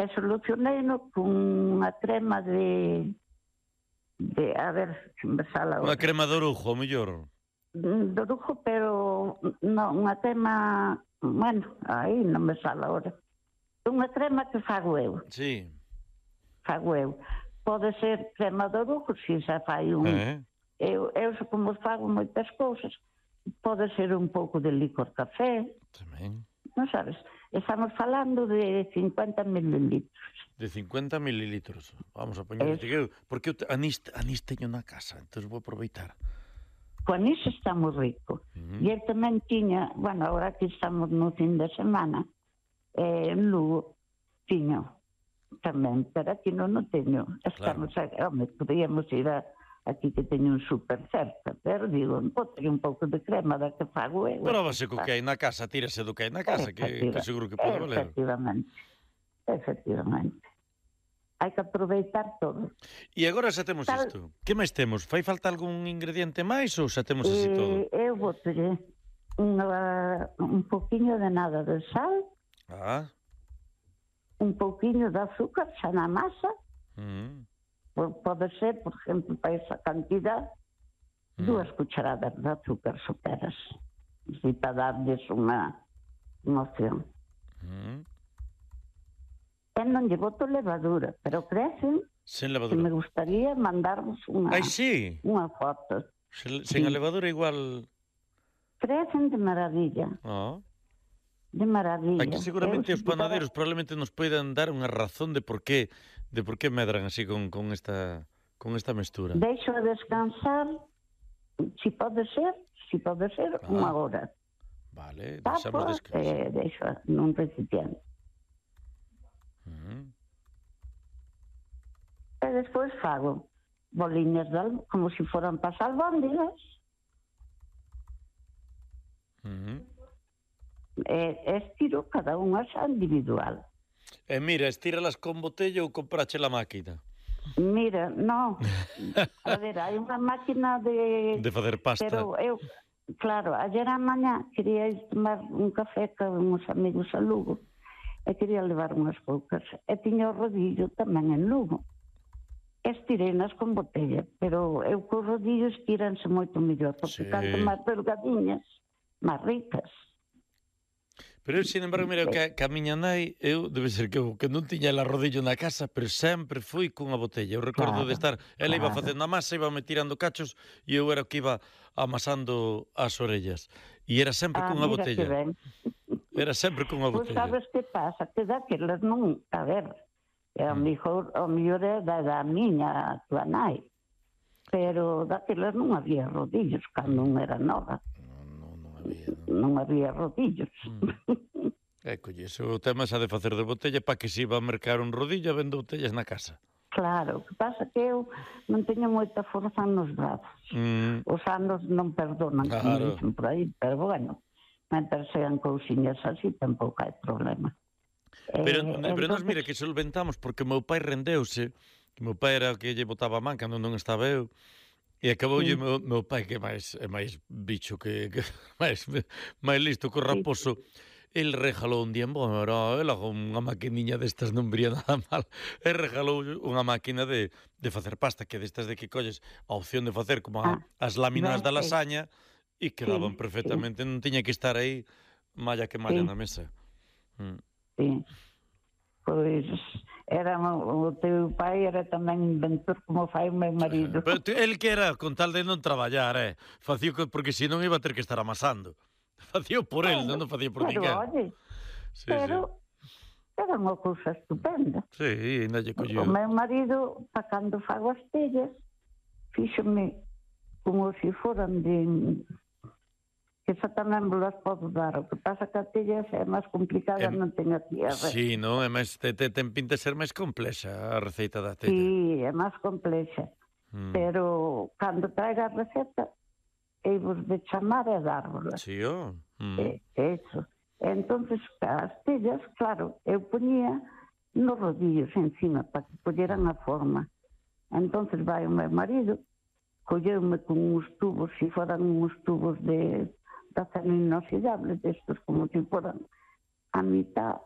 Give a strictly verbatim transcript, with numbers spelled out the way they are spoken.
E solucionei-no con unha crema de... de a ver, se me sala Unha crema de orujo, o mellor. De orujo, pero non, unha crema... Bueno, aí non me sala ahora. Unha crema que fago eu. Sí. Fago eu. Pode ser crema de orujo, se xa fai un... Eh? Eu, eu como fago moitas cousas, pode ser un pouco de licor café. Tamén. Non sabes? Estamos falando de cincuenta mililitros. De cincuenta mililitros. Vamos a poñer este que porque eu anís, anís teño na casa, entón vou aproveitar. Con iso está moi rico. Uh-huh. E ele tamén tiña, bueno, agora que estamos no fin de semana, eh, en Lugo, tiño tamén, pero aquí non o teño. Estamos, claro. a, home, podíamos ir a, aquí que teño un super cerca, pero digo, bote un pouco de crema da que fago eu. Próbase co que hai na casa, tírase do que hai na casa, que, que seguro que pode valer. Efectivamente, efectivamente. Hai que aproveitar todo. E agora xa temos Tal... isto. Que máis temos? Fai falta algún ingrediente máis ou xa temos así todo? Eh, eu botere un poquinho de nada de sal, ah. un poquinho de azúcar xa na masa, mm. pode ser, por exemplo, para esa cantidad, mm. dúas cucharadas de azúcar superas, así para darles unha opción. Mm. E non lle boto levadura, pero crecen. Sen levadura. Que me gustaría mandarvos unha, Ai, sí. unha foto. Sen, sen sí. a levadura igual... Crecen de maravilla. Oh. De maravilla. Aquí seguramente eu, os panaderos para... probablemente nos poidan dar unha razón de por qué de por qué medran así con, con esta con esta mestura. Deixo a descansar, si pode ser, si pode ser, ah. unha hora. Vale, deixamos descansar. Eh, deixo nun recipiente. Uh-huh. E despois fago boliñas de algo, como se si foran para albóndigas. Uh-huh. E, e estiro cada unha xa individual. E mira, estíralas con botella ou comprache la máquina? Mira, no. A ver, hai unha máquina de... De facer pasta. Pero eu, claro, ayer a mañá quería ir tomar un café con uns amigos a Lugo. E quería levar unhas poucas. E tiña o rodillo tamén en Lugo. Estireinas con botella, pero eu co rodillo estiranse moito mellor, porque sí. Canto máis delgadiñas, máis ricas. Pero eu, sin embargo, mira, que, que a miña nai, eu, debe ser que eu que non tiña el rodillo na casa, pero sempre fui cunha botella. Eu recordo claro, de estar, ela claro. Iba facendo a masa, iba me tirando cachos, e eu era o que iba amasando as orellas. E era sempre ah, cunha botella. Era sempre cunha botella. Pois sabes que pasa? Que daquelas non... A ver, a mellor é da, da miña, a tua nai. Pero daquelas non había rodillos, cando non era nova. Non, non, non había. Non, non había rodillos. Mm. É, colle, o tema xa de facer de botella para que se iba a mercar un rodillo vendo botellas na casa. Claro, o que pasa que eu non teño moita forza nos brazos. Mm. Os anos non perdonan, claro. Como dicen por aí, pero bueno... Mentre sean cousiñas así, tampouco hai problema. Pero, eh, pero entonces... nos mira que solventamos, porque o meu pai rendeuse, que meu pai era o que lle botaba a man cando non estaba eu, e acaboulle sí. meu, meu pai, que é máis, é máis bicho, que, que máis, máis listo que o raposo, sí. El regalou un día, bueno, era ela con unha maquiniña destas non vería nada mal, e regalou unha máquina de, de facer pasta, que destas de que colles a opción de facer como a, ah, as láminas da lasaña, e quedaban sí, perfectamente, sí. Non tiña que estar aí malla que malla sí. na mesa. Mm. Sí. Pois era o teu pai era tamén inventor como fai o meu marido. Pero el que era con tal de non traballar, eh, facía porque senón iba a ter que estar amasando. Facía por el, bueno, non facía por ninguén. Pero, oye, sí, pero sí. Era unha cousa estupenda. Sí, ainda lle colleu. O meu marido, para cando fago as tellas, fíxome como se foran de... que xa tamén vos podo dar. O que pasa que a tella é máis complicada, eh, non ten a tierra. Sí, non? É máis, te, te, ten pinta ser máis complexa a receita da tella. Sí, é máis complexa. Mm. Pero cando traiga a receta, ei vos de chamar e dárvola. Sí, oh. Mm. É, eso. Entonces, as tellas, claro, eu poñía nos rodillos encima para que colleran a forma. Entonces vai o meu marido, colleume con uns tubos, se foran uns tubos de... de acero inoxidable, destos como se foran a mitad,